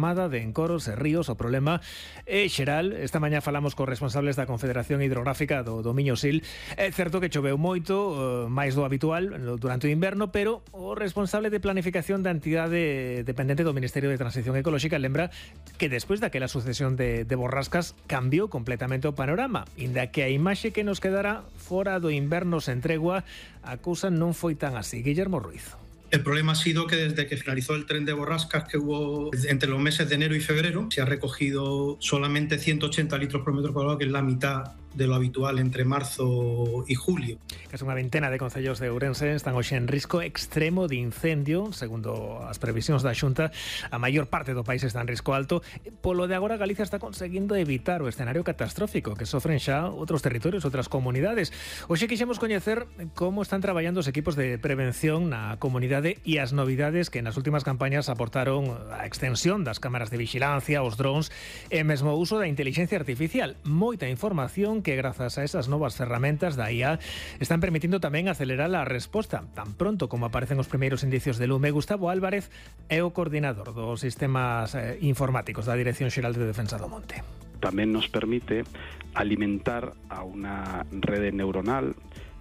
desmada de encoros e ríos. O problema é xeral. Esta mañá falamos cos responsables da Confederación Hidrográfica do Miño Sil. É certo que choveu moito, máis do habitual durante o inverno, pero o responsable de planificación da entidade dependente do Ministerio de Transición Ecolóxica lembra que despois daquela sucesión de borrascas cambiou completamente o panorama. Inda que a imaxe que nos quedara fora do inverno sen tregua, a cousa non foi tan así. Guillermo Ruiz. El problema ha sido que desde que finalizó el tren de borrascas que hubo entre los meses de enero y febrero, se ha recogido solamente 180 litros por metro cuadrado, que es la mitad de lo habitual entre marzo y julio. Casi unha ventena de concellos de Ourense están hoxe en risco extremo de incendio. Segundo as previsións da Xunta, a maior parte do país está en risco alto. Polo de agora, Galicia está conseguindo evitar o escenario catastrófico que sofren xa outros territorios, outras comunidades. Hoxe quixemos coñecer como están traballando os equipos de prevención na comunidade e as novidades que nas últimas campañas aportaron a extensión das cámaras de vigilancia, os drones e mesmo o uso da inteligencia artificial. Moita información que grazas a esas novas ferramentas da IA están permitindo tamén acelerar a resposta. Tan pronto como aparecen os primeiros indicios de lume, Gustavo Álvarez é o coordinador dos sistemas informáticos da Dirección Xeral de Defensa do Monte. Tamén nos permite alimentar a unha rede neuronal,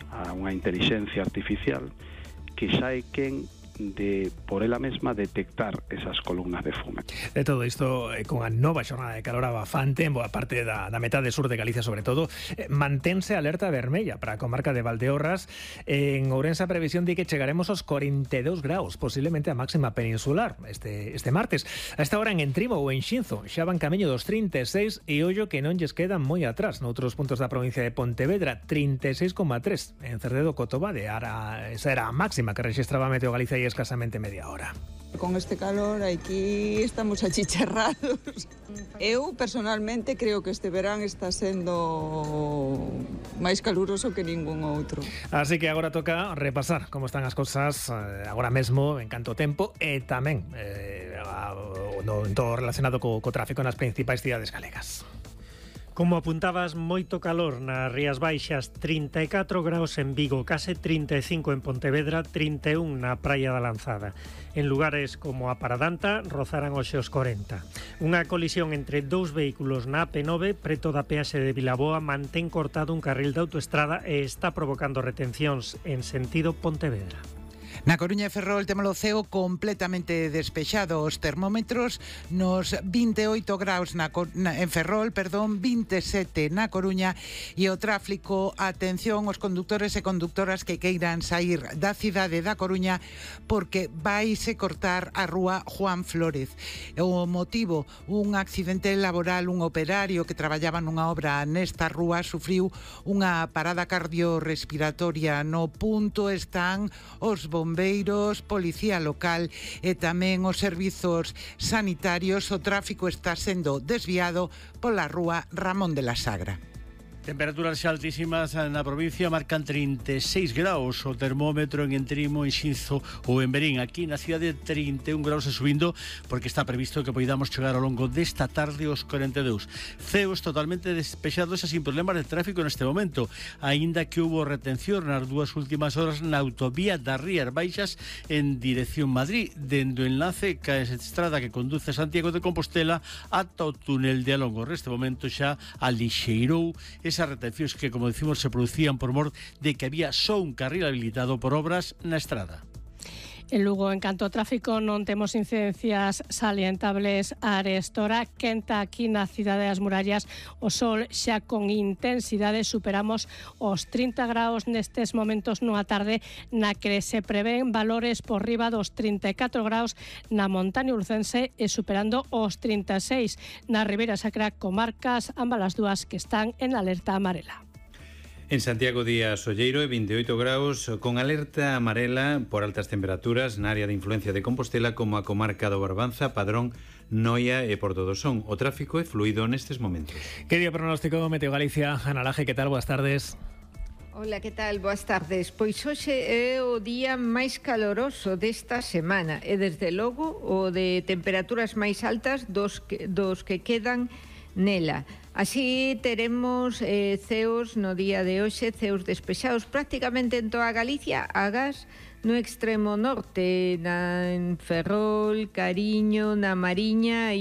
a unha inteligencia artificial que xa é quen de, por ela mesma, detectar esas columnas de fume. De todo isto, con a nova xornada de calor abafante en boa parte da metade sur de Galicia, sobre todo, mantense alerta vermella para a comarca de Valdeorras. En Ourense a previsión di que chegaremos aos 42 graus, posiblemente a máxima peninsular este martes. A esta hora en Entrimo ou en Xinzo xa van camiño dos 36 e ollo que non lles quedan moi atrás. Noutros puntos da provincia de Pontevedra, 36,3. En Cerdedo, Cotobade, esa era a máxima que registraba Meteo Galicia e escasamente media hora. Con este calor aquí estamos achicharrados. Eu personalmente creo que este verán está sendo máis caluroso que ningún outro. Así que agora toca repasar como están as cousas agora mesmo en canto tempo e tamén en todo relacionado co tráfico nas principais cidades galegas. Como apuntabas, moito calor nas Rías Baixas, 34 graus en Vigo, case 35 en Pontevedra, 31 na Praia da Lanzada. En lugares como a Paradanta rozarán hoxe os 40. Unha colisión entre dous vehículos na AP9 preto da peaxe de Vilaboa mantén cortado un carril de autoestrada e está provocando retencións en sentido Pontevedra. Na Coruña e Ferrol temos o ceo completamente despexado. Os termómetros nos 28 graus en Ferrol, 27 na Coruña, e o tráfico, atención os conductores e conductoras que queiran sair da cidade da Coruña porque vaise cortar a rúa Juan Flórez. O motivo, un accidente laboral, un operario que traballaba nunha obra nesta rúa sufriu unha parada cardiorrespiratoria. No punto están os bombeiros, policía local e tamén os servizos sanitarios. O tráfico está sendo desviado pola rúa Ramón de la Sagra. Temperaturas xa altísimas na provincia, marcan 36 graus o termómetro en Entrimo, en Xinzo ou en Berín. Aquí na cidade 31 graus e subindo, porque está previsto que poidamos chegar ao longo desta tarde aos 42. Ceos totalmente despexados e sin problemas de tráfico neste momento, aínda que houbo retención nas dúas últimas horas na autovía das Rías Baixas en dirección Madrid, dende o enlace ca estrada que conduce a Santiago de Compostela ata o túnel de Alongo. Neste momento xa alixeirou esas retencións que, como decimos, se producían por mor de que había só un carril habilitado por obras na estrada. En Lugo, en canto ao tráfico, non temos incidencias salientables a arestora. Quenta aquí na cidade das Murallas, o sol xa con intensidade, superamos os 30 graus nestes momentos nunha tarde na que se prevén valores por riba dos 34 graus na montaña urcense e superando os 36 na Ribeira Sacra, comarcas ambas as dúas que están en alerta amarela. En Santiago día solleiro e 28 graus con alerta amarela por altas temperaturas na área de influencia de Compostela como a comarca do Barbanza, Padrón, Noia e Porto do Son. O tráfico é fluido nestes momentos. Que dio pronóstico Meteo Galicia? Ana Laje, que tal? Boas tardes. Hola, que tal? Boas tardes. Pois hoxe é o día máis caloroso desta semana e desde logo o de temperaturas máis altas dos que quedan nela. Así teremos ceos no día de hoxe, ceos despexados prácticamente en toda Galicia, agás no extremo norte, en Ferrol, Cariño, na Mariña e